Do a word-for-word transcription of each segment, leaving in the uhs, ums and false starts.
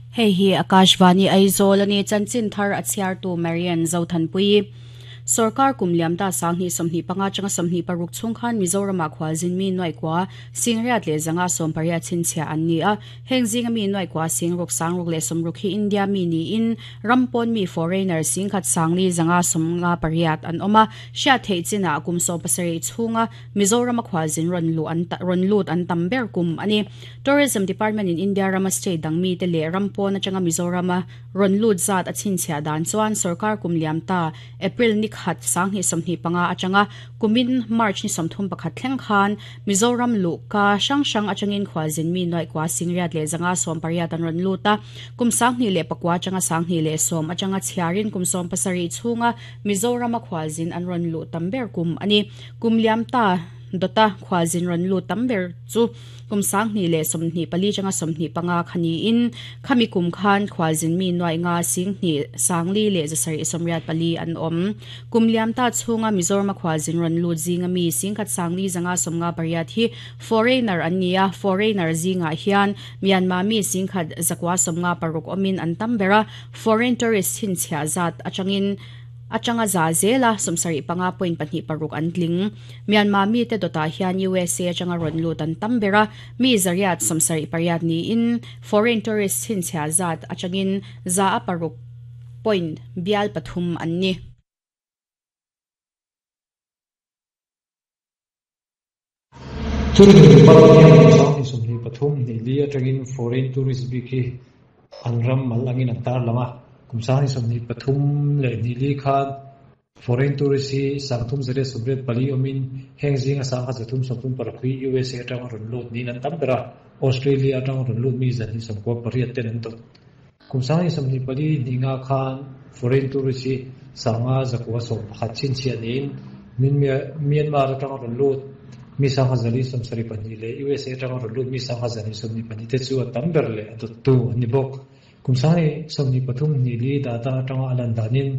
Hei hi Akashvani Aizawl ani chanchin thar a chhiartu Marian Zothanpui. Sarkar kumliam ta sangni somni panga changa somni paruk chungkhan Mizoram a khwalzin mi noi kwa singriat le zanga som paria chinchia an ni a hengzinga mi noi kwa singruk sangruk le somruk hi India mi ni in rampon mi foreigner singkhat sangli zanga somnga pariat an oma sha theichina kum so pasari chunga Mizoram a khwalzin ron lu an ron lut an tamber kum ani Tourism Department in India rama state dang mi te le rampon atanga Mizoram ron lut zat a chinchia dan chuan sarkar kumliam ta April ni khat sangni somni panga atanga kumin March ni somthum pakhat thleng khan Mizoram lu ka sang sang atangin khwalzin mi noi kwa singriat le zanga som pariat an ron luta kum sangni le pakwa atanga sangni le som atanga chiarin kum som pasari chunga Mizoram a khwalzin an ron lu tamber kum ani kumliam ta dota khwalzin ron lu tamber chu kum sangni le somni pali changa somni panga khani in khami kum khan khwalzin mi noi nga singni sangli le jasari somriat pali an om kumliam ta chunga Mizoram khwalzin ron lu zinga mi singkhat sangli zanga somnga pariat hi foreigner ania foreigner zinga hian Myanmar mi singkhat zakwa somnga paruk omin an tambera foreign tourist hin chhia zat atangin atanga za zela somsari panga point pahnih paruk an tling Myanmar mi te dota hian U S A atanga ron lut an tambera mi zariat somsari pariat ni in foreign tourist hin chhia zat atangin za a paruk point bial pathum an ni. Tourism Department hian somni pathum ni li atangin foreign tourist bi khi anram mal angin an tar lama kumsani somni pathum le ni li khan foreign tourist hi sangthum zare somret pali omin hengzing asangha zathum somthum parakhui U S A atang ron lut ni nan tambera Australia atang ron lut mi zani somko pariat ten an tot kumsani somni pali ninga khan foreign tourist hi sanga zakwa som pakhat chin chianin min Myanmar atang ron lut mi sangha zali somsari pani le U S A atang ron lut mi sangha zani somni pani te chu tamber le adot tu ani bok kumsani somni pathum ni li data atanga alan danin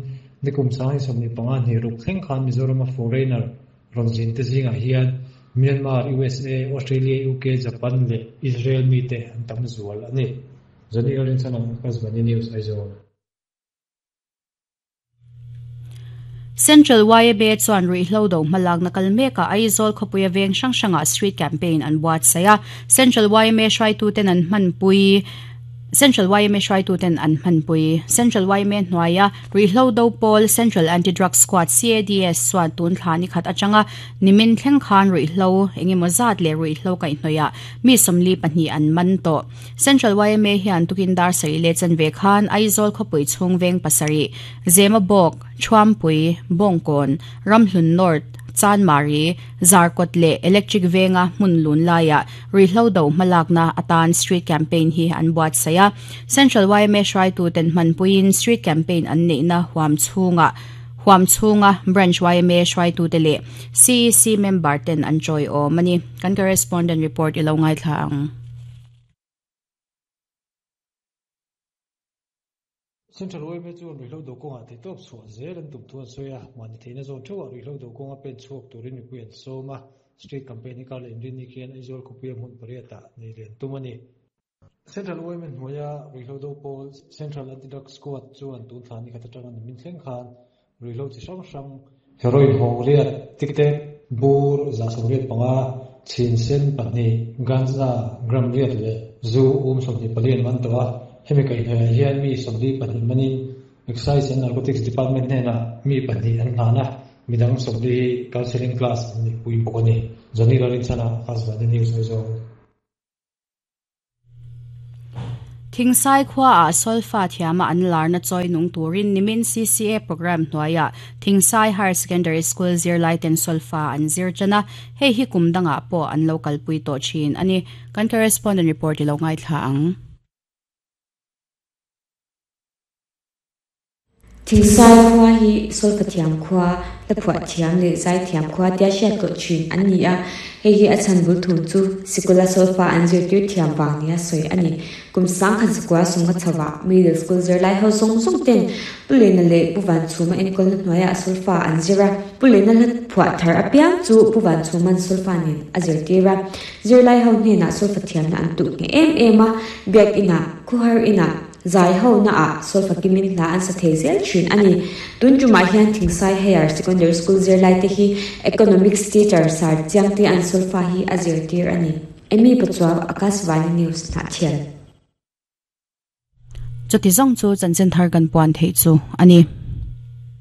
ni kumsani somni panga ni ruk thleng khan Mizoram foreigner ronjin te zinga hian Myanmar U S A Australia U K Japan le Israel mi te an tam zual ani Jani Alin sanam Akashvani News Aizawl. Central Y M A chuan ruihhlo do hmalak na kalmeka Aizawl khawpuia veng hrang hranga street campaign an buat saia Central Y M A hruaitu ten an hmanpui Central Y M A hruaitu ten an hmanpui Central Y M A hnuaia ruihhlo do pawl Central Anti-Drug Squad C A D S chuan tun thla ni khat atanga nimin thleng khan ruihhlo engemaw zat le ruihhlo kaihhnawih mi sawmli pahnih an man tawh Central Y M A hian tukin dar sari le chanve khan Aizawl khawpui chhung veng pasari Zemabawk Thuampui Bawngkawn Ramhlun North Chanmari Zarkawt le Electric Venga hmun lun laia ruihhlo do hmalakna atan street campaign hi an buat saia Central Y M A hruaitu ten hmanpuiin street campaign an neihna huam chhunga huam chhunga branch Y M A hruaitu te le C E C member ten an chawi awm ani kan correspondent report ilo ngaithla ang. Central Y M A chuan ruihhlo do kawnga te tawp chhuah zel an tum thuan sawi a mahni theihna zawn theuh ah ruihhlo do kawnga pen chhuak turin mipui an sawm a street campaign hi kar leh inrin ni khian Aizawl khawpuia hmun pariat ah nei lian tum ani Central Y M A hnuaia ruihhlo do pawl Central Anti-Drug Squad chuan tun thla ni khat atanga nimin thleng khan ruihhlo chi hrang hrang heroin hawng riat tiktek bur za sawmriat panga chin sen pahnih ganja gram riat le zu um sawmhnih pali an man tawh a hemi kaihhnawih hian mi sawmli pahnih manin Excise and Narcotics Department hnenah mi pahnih an hlan a midang sawmli counseling class an ni pui bawk ani Johnny Lalin chana Akashvani News Aizawl. Thingsai khua a solfa thiama an larna choi nung turin nimin C C A program hnuaia Thingsai Higher Secondary School zirlai ten solfa an zir chana hei hi kumdanga pawh an local pui tawh thin ani kan correspondent report ilo ngaithla ang. Thingsai khua hi solfa thiam khua la phuah thiam le zai thiam khua tia hriat tawh thin an ni a hei hi a chhan bul thum chu sikula solfa an zirtir thiam vang nia sawi ani kum sang khat zakua sunga chhawa middle school zirlai ho zawng zawng ten pulena leh puvan chhuma enkawl na hnuaiah solfa an zira pulena hla phuah thar apiang chu puvan chhuman solfa nen a zirtir a zirlai ho hnenah solfa thiamna an tuh nge em em a biak inah khuhar inah Zai ho na ah solfa kimin hla an sa thei zel thin a ni. Tun tumah hian Thingsai Higher Secondary School zirlai te hi Economics teacher Sir Chiangte an solfa hi a zirtir a ni. Amy Pachuau, Akashvani News, Hnahthial. Chuti zawng chu chanchin thar kan puan theih chu a ni.